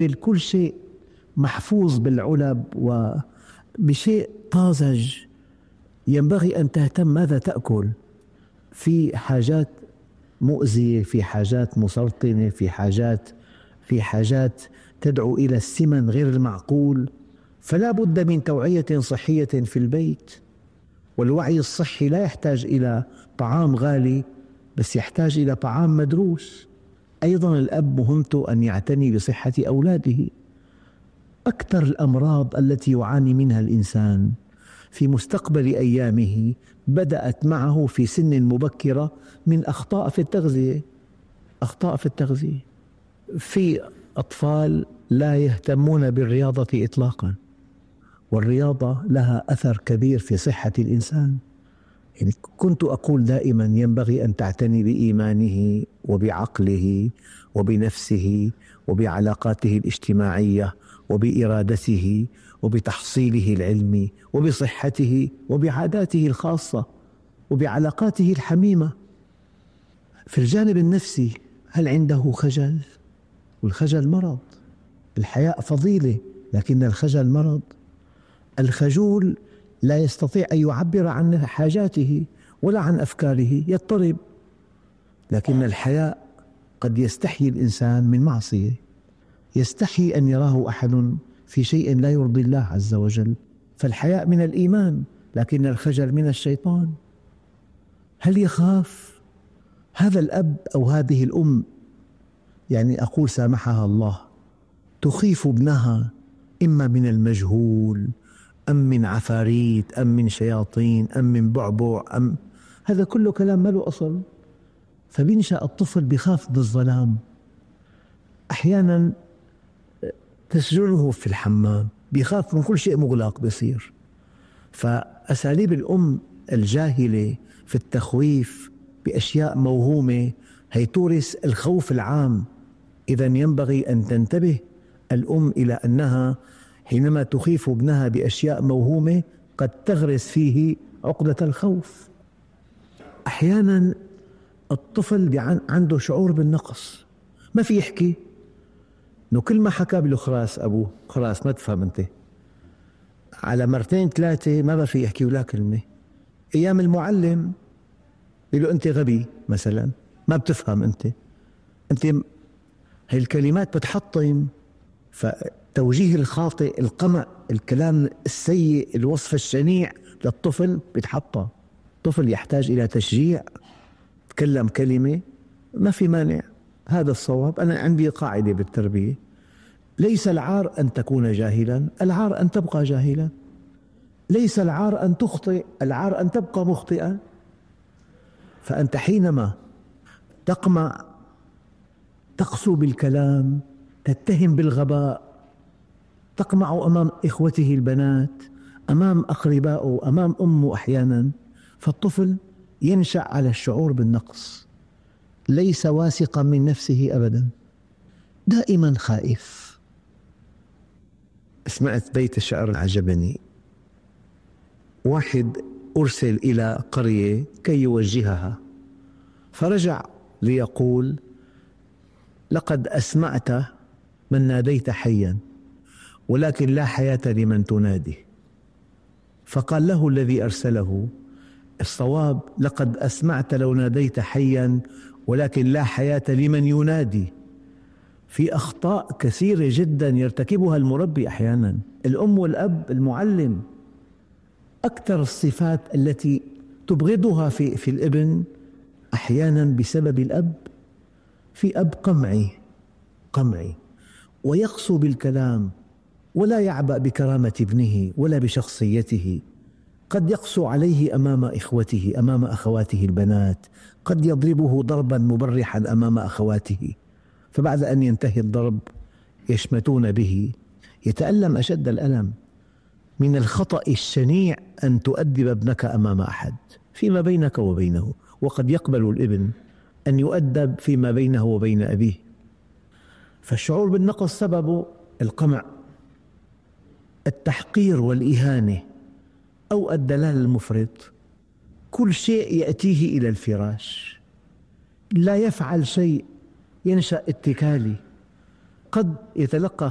كل شيء محفوظ بالعلب وبشيء طازج. ينبغي أن تهتم ماذا تأكل. في حاجات مؤذية، في حاجات مسرطنة، في حاجات تدعو إلى السمن غير المعقول، فلا بد من توعية صحية في البيت. والوعي الصحي لا يحتاج إلى طعام غالي، بس يحتاج إلى طعام مدروس. أيضا الأب مهمته أن يعتني بصحة أولاده. أكثر الأمراض التي يعاني منها الإنسان في مستقبل أيامه بدأت معه في سن مبكرة من أخطاء في التغذية. في أطفال لا يهتمون بالرياضة إطلاقا، والرياضة لها أثر كبير في صحة الإنسان. يعني كنت أقول دائما ينبغي أن تعتني بإيمانه وبعقله وبنفسه وبعلاقاته الاجتماعية وبإرادته وبتحصيله العلمي وبصحته وبعاداته الخاصة وبعلاقاته الحميمة. في الجانب النفسي هل عنده خجل؟ والخجل مرض. الحياء فضيلة لكن الخجل مرض. الخجول لا يستطيع أن يعبر عن حاجاته ولا عن أفكاره، يضطرب. لكن الحياء قد يستحي الإنسان من معصية، يستحي أن يراه أحد في شيء لا يرضي الله عز وجل. فالحياء من الإيمان لكن الخجل من الشيطان. هل يخاف هذا الأب أو هذه الأم؟ يعني أقول سامحها الله، تخيف ابنها إما من المجهول أم من عفاريت أم من شياطين أم من بعبع هذا كله كلام ما له أصل. فبينشأ الطفل بخاف من الظلام. أحيانا تسجنه في الحمام، بيخاف من كل شيء مغلق بيصير. فأساليب الأم الجاهلة في التخويف بأشياء موهومة هي تورث الخوف العام. إذا ينبغي أن تنتبه الأم إلى أنها حينما تخيف ابنها بأشياء موهومة قد تغرس فيه عقدة الخوف. أحيانا الطفل عنده شعور بالنقص، ما في يحكي، إنه كل ما حكى بله خلاص أبوه، خلاص ما تفهم أنت. على مرتين ثلاثة ما في يحكي ولا كلمة. أيام المعلم يقول له أنت غبي مثلا، ما بتفهم أنت هاي الكلمات بتحطم. فتوجيه الخاطئ، القمع، الكلام السيء، الوصف الشنيع للطفل بيتحطم. الطفل يحتاج إلى تشجيع. تكلم كلمة ما في مانع، هذا الصواب. أنا عندي قاعدة بالتربية: ليس العار أن تكون جاهلا، العار أن تبقى جاهلا. ليس العار أن تخطئ، العار أن تبقى مخطئا. فأنت حينما تقمع، تقسو بالكلام، تتهم بالغباء، تقمع أمام إخوته البنات، أمام أقربائه، أمام أمه أحيانا، فالطفل ينشأ على الشعور بالنقص، ليس واثقا من نفسه أبدا، دائما خائف. سمعت بيت شعر عجبني. واحد أرسل إلى قرية كي يوجهها، فرجع ليقول: لقد أسمعت من ناديت حيا ولكن لا حياة لمن تنادي. فقال له الذي أرسله: الصواب لقد أسمعت لو ناديت حيا ولكن لا حياة لمن ينادي. في أخطاء كثيرة جدا يرتكبها المربي أحيانا، الأم والأب، المعلم. أكثر الصفات التي تبغضها في الابن أحيانا بسبب الأب. في أب قمعي ويقسو بالكلام ولا يعبأ بكرامة ابنه ولا بشخصيته. قد يقسو عليه أمام إخوته، أمام أخواته البنات، قد يضربه ضربا مبرحا أمام أخواته، فبعد أن ينتهي الضرب يشمتون به، يتألم أشد الألم. من الخطأ الشنيع أن تؤدب ابنك أمام أحد فيما بينك وبينه، وقد يقبل الابن أن يؤدب فيما بينه وبين أبيه. فالشعور بالنقص سببه القمع، التحقير والإهانة أو الدلال المفرط. كل شيء يأتيه إلى الفراش، لا يفعل شيء، ينشأ اتكالي. قد يتلقى